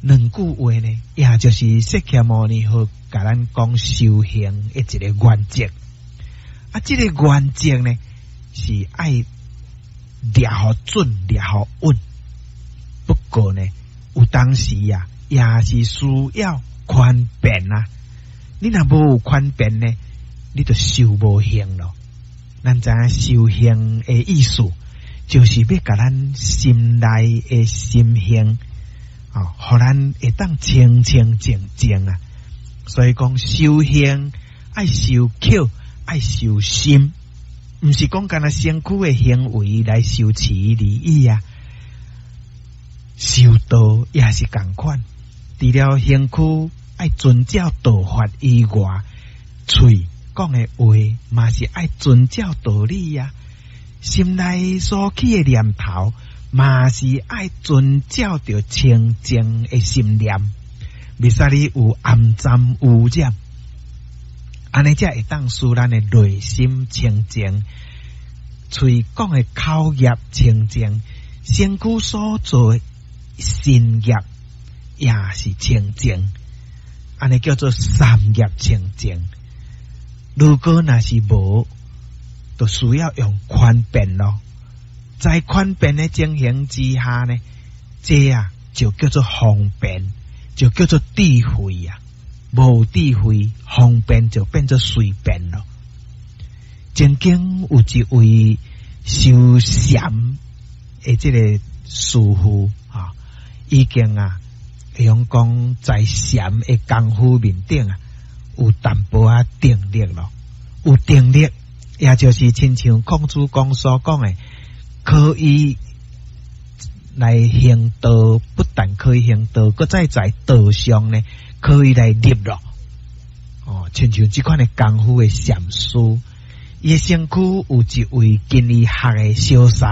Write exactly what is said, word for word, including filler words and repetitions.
兩句話呢，也就是釋迦牟尼佛共咱講修行的一個原則。啊，這個原則呢，是愛掠予準，掠予穩。不過呢，有當時啊，也是需要寬便啊。你若無有寬便呢，你就修無行咯。咱知影修行的意思，就是欲共咱心內的心行，哦，予咱會當清清淨淨啊。所以講修行愛修口，愛修心，毋是講干焦身軀的行為來修持而已啊。修道也是仝款，除了身軀愛遵照道法以外，喙講的話嘛是愛遵照道理啊。心內所起的念頭，嘛是愛遵照著清淨的心念，袂使你有骯髒污染，按呢才會當使咱的內心清淨，喙講的口業清淨，身軀所做的身業也是清淨，按呢叫做三業清淨。如果若是無，就需要用寬便咯。在寬便的情形之下呢，這啊就叫做方便，就叫做智慧啊。無智慧，方便就變做隨便咯。曾經有一位修禪的這個師父啊，已經啊，會用講在禪的功夫面頂啊，有淡薄仔定力咯，有定力，也就是親像孔子公所講的，可以來行道，不但可以行道，閣再在道上呢，可以來立咯。哦，親像這款的功夫的禪師，伊的身軀有一位跟伊學的小沙。